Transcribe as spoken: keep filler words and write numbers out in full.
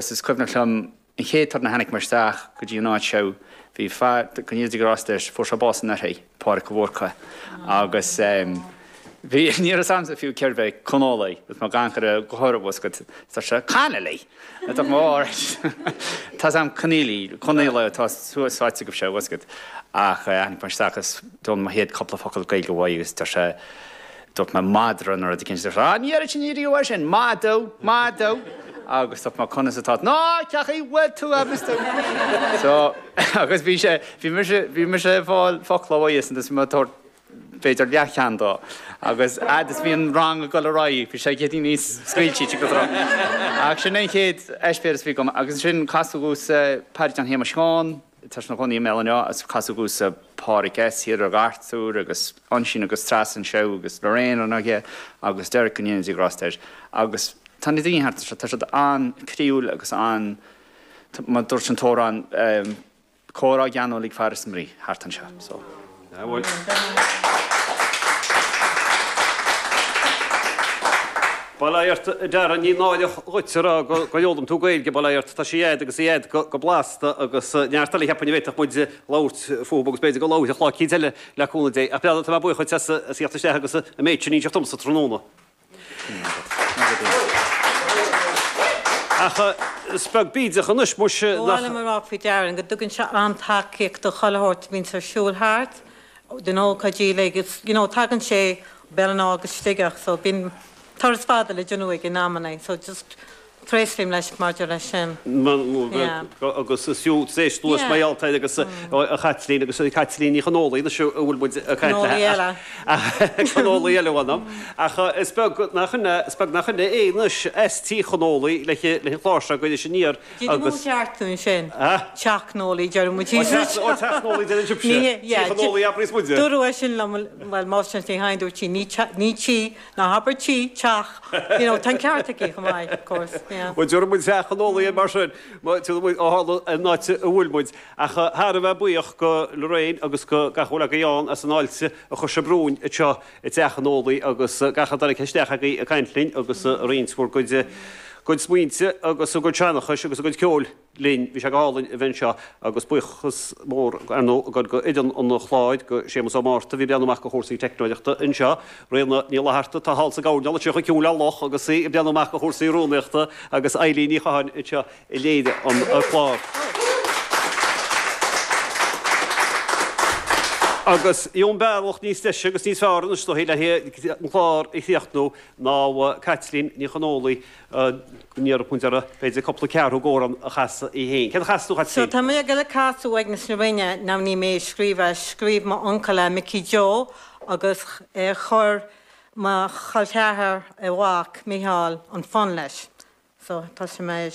Is cuimhneach liom an chéad turn a tháinig mé isteach go dtí an áit seo bhí fear go ndéana Dia grásta air fuair sé bás anuraidh Pádraig Ó Murchú agus bhí ní raibh a fhios a'msa fiú cérbh é Connolly agus mé ag amharc air go háirithe bhfuil a fhios agat Connolly Tá mé Tá am Conneely Conneely atá suas áit agaibh sé bhfuil a fhios agat ach tháinig mé isteach agus d'fhoghlaim mo chéad cúpla focal Gaeilge uaidh agus deir sé dúirt mé madra nó rud éicint deir sé ah ní deireann sin riamh é sin madadh madadh agus dúirt mé conas atá ná cén chaoi a bhfuil tú agus tú so agus bhí sé bhí mise bhí mise ag fáil focla uaidh is mé ag tabhairt b'fhéidir leathcheann dó agus fhad is bhí an rang ag dul ar aghaidh bhí sé céad níos scaoilte go tráth. Ach sin an chéad eispéireas a bhí agam agus ansin casadh domhsa Paddy John Shéamuis Sheáin, tá sé ina chónaí i mBéal an Átha agus casadh domhsa Pádraig S. thiar ag Arthur agus Oisín agus Treasa anseo agus Lorraine an aige agus Derek go ndéana Dia grásta air agus tá na daoine thart anseo, tá siad an-chroíúil agus an mar dúirt an t-amhrán comhrá geanúil ag fear is a mhnaoi thart anseo. So. Bail ó Dhia ort, a Darren, ní náireach dhuit a rá gur fhoghlaim tú Gaeilge, bail ó Dhia ort, tá sí a'd agus í a'd go blasta agus neart eile cheapfainn a bhféadfadh muid labhairt fúthu agus b'fhéidir go labharfaidh lá eicínt eile le cúnamh Dé. Ach tá mé buíoch dhuit as a theacht isteach agus an méid sin a inseacht domsa tráthnóna. Ach is beag bídeach anois muise Ba nach. mhaith liom a rá faoi Darren go dtugann sé an-tacaíocht do chuile shórt a bhíonns ar siúl thart, do na hócáidí uilig. It's, you know, tagann sé Béal an Átha agus Sligeach so bíonn turas fada le déanamh aige in amannaí so just tréaslaím leis maidir leis sin. Yeah. Agus is fiú tar éis luas Yeah. mar gheall air agus a Chaitlín agus Caitlín Ní Chonólaigh anois a bhfuil muid ag caint Conólaí léi eile. Conólaí eile bhaineann. Ach is beag nach ionadh is beag nach ionadh é anois as Tí Chonólaigh le le an chlár seo ag Iris Aniar Did you agus ceartú ansin? Ah? Teach Chonólaí deireann muid Ó teach ó Teach Chonólaí deireann sibhse. Ní Tí Chonólaí abraíos muide. Dúradh é sin liom bhuel máistir Ní Sheighin dúirt sí ní ní tí ná habair tí teach you know tá an ceart aici chomh maith of course yeah. Bhuel déarfaidh muid Teach Chonólaí air mar sin ó tharla an áit a bhfuil muid. Ach thar a bheith buíoch go Lorraine agus go gach a bhfuil agaibh ann as an fháilte a chuir sibh romhainn anseo i dTeach Chonólaí agus gach a dtáinig isteach agaibh ag caint linn agus ag roinnt bhur gcuid gcuid smaointe agus a gcuid seanchais agus a gcuid ceoil linn. Bhí sé go hálainn a bheith anseo agus buíochas mór, ar ndóigh, ag dul go fhoireann an chláir, go Séamus Ó Márta a bhí ag breathnú amach do chúrsaí teicneoireachta anseo, Ríona Ní Fhlatharta atá thall sa gcoirnéal anseo chomh ciúin le luch agus í ag breathnú amach do chúrsaí rúnaíochta agus Eilín Ní Chatháin anseo a léirigh an clár. Agus gheobhainn bealach níos deise agus níos fearr anois dóichí le an clár a chríochnú ná Caitlín Ní Chonólaigh go n-iarrfadh muid uirthi b'fhéidir cúpla ceathrú d'amhrán a chasadh í féin. Céard a chasfaidh tú, a So Chaitlín? tá mé ag dul ag casadh Uaigneas na Rinne, now ní mé a scríobh é, scríobh m'uncail é, Mickey Joe, agus chuir mo chol ceathar, a mhac, Micheál, an fonn leis. So tá sé mar.